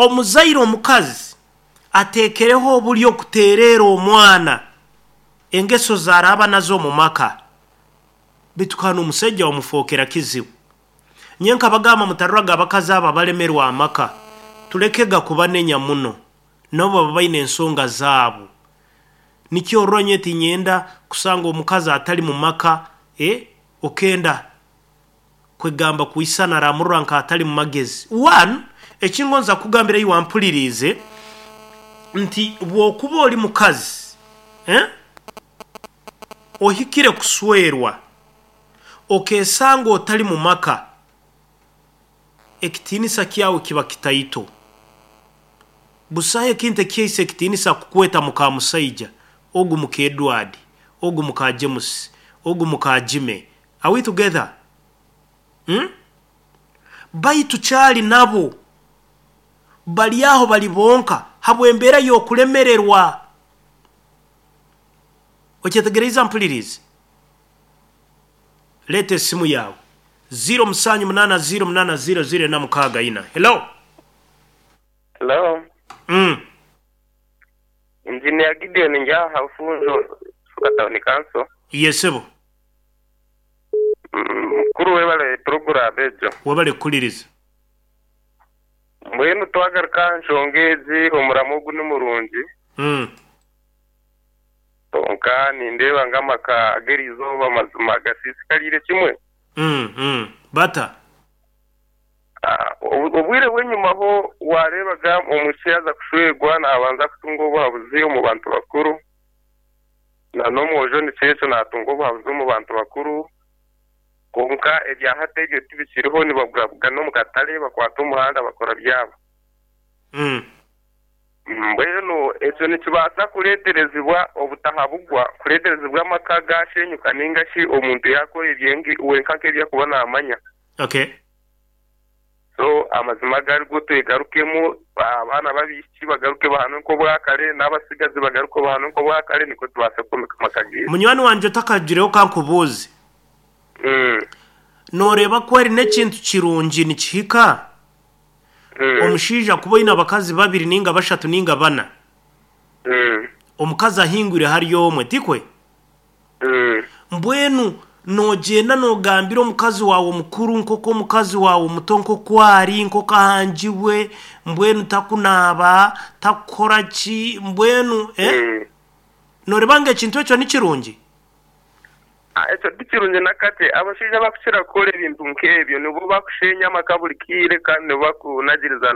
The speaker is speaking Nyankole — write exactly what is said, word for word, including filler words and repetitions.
Omuzaire omukazi ateekereho oburyo kuteerera omwana engeso zaraaba nazo omu maka, beitu kandi omusaija wamufookera kizibu. Nyowe nkabagamba, mutaruraga abakazi abo abalemerwa amaka, tulekega kubanenya muno, nabo baba baine ensonga zaabo. Nikyo orora nyowe tinyenda kusanga omukazi atari mu maka, eh, okenda kwegamba kwisana aramurora nk'atari mu magezi. One, ekingonza kugambira iwe wampuririize nti bw'okuba ori mukazi, eh, ohikire kuswerwa, okeesanga otari mu maka, ekitiinisa kyawe kiba kitaito. Busaho ekintu ekihaisa ekitiinisa kukweta muka musaija, ogu muka Edward, ogu muka James, ogu muka Jimmy. Are we together? Hmm? Baitu kyali nabo bari aho bari bonka habw'embeera y'okulemererwa. Okyetegereize mpulirize? Leeta esimu yaawe. ziro musanju munaana ziro munaana ziro ziro ena mukaaga ina. Hello. Hello. Mm. Engineer Gideon Njaha Bufunjo, Suka Town Council. Yesebo. Mukuru, webale program egyo. Webale kukuliriza. Mbwenu twagaruka aha nshonga egi, omuramo ogu ni murungi. Mm. Konka nindeeba ng'amaka ag'erizooba amazima gasiisikariire kimwe. Mm. Mm. Bata. Ah, obu- obwire bw'enyimaho wareebaga omwishiki yaza kushwerwa nabanza kutunga obuhabuzi omu bantu bakuru, na n'omwojo nikyo ekyo natunga obuhabuzi omu bantu bakuru. Konka ebya hati ebyo tibikiriho, nibabugabugana omu katare, bakwata omuhanda, bakora byabo. Mm. Mbwenu ekyo nikibaasa kureeterezibwa obutahabugwa, kureeterezibwa amaka gashenyuka, ninga shi omuntu yakora ebyengi wenka nk'ebyakuba naamanya. Okay. So amazima garigo, twegarukemu, abaana b'abaishiki bagaruke bahanwe nk'obwakare, n'abasigazi bagaruke bahanwe nk'obwakare, nikwo tubaase kwomeka amaka gaitu. Munywani wangye, otakagireho, kankubuuze. Mm, Nooreeba ko eri n'ekintu kirungi nikihika mm, omushaija kuba oine abakazi babiri ninga bashatu ninga bana, mm, omukazi ahingwire hari omwe, tikwe? Mm. Mbwenu noogenda noogambira omukazi waawe omukuru nk'oku omukazi waawe omuto nk'oku ari, nk'oku ahangibwe, mbwenu takunaaba, takukora ki, mbwenu, eh? Mm. Nooreeba ngu ekintu ekyo ni kirungi? Ah, ekyo tikirungi nakate. Abashaija bakukira kukora ebintu nk'ebyo nibo bakushenya amaka buri kiire, kandi nibo bakunagiriza.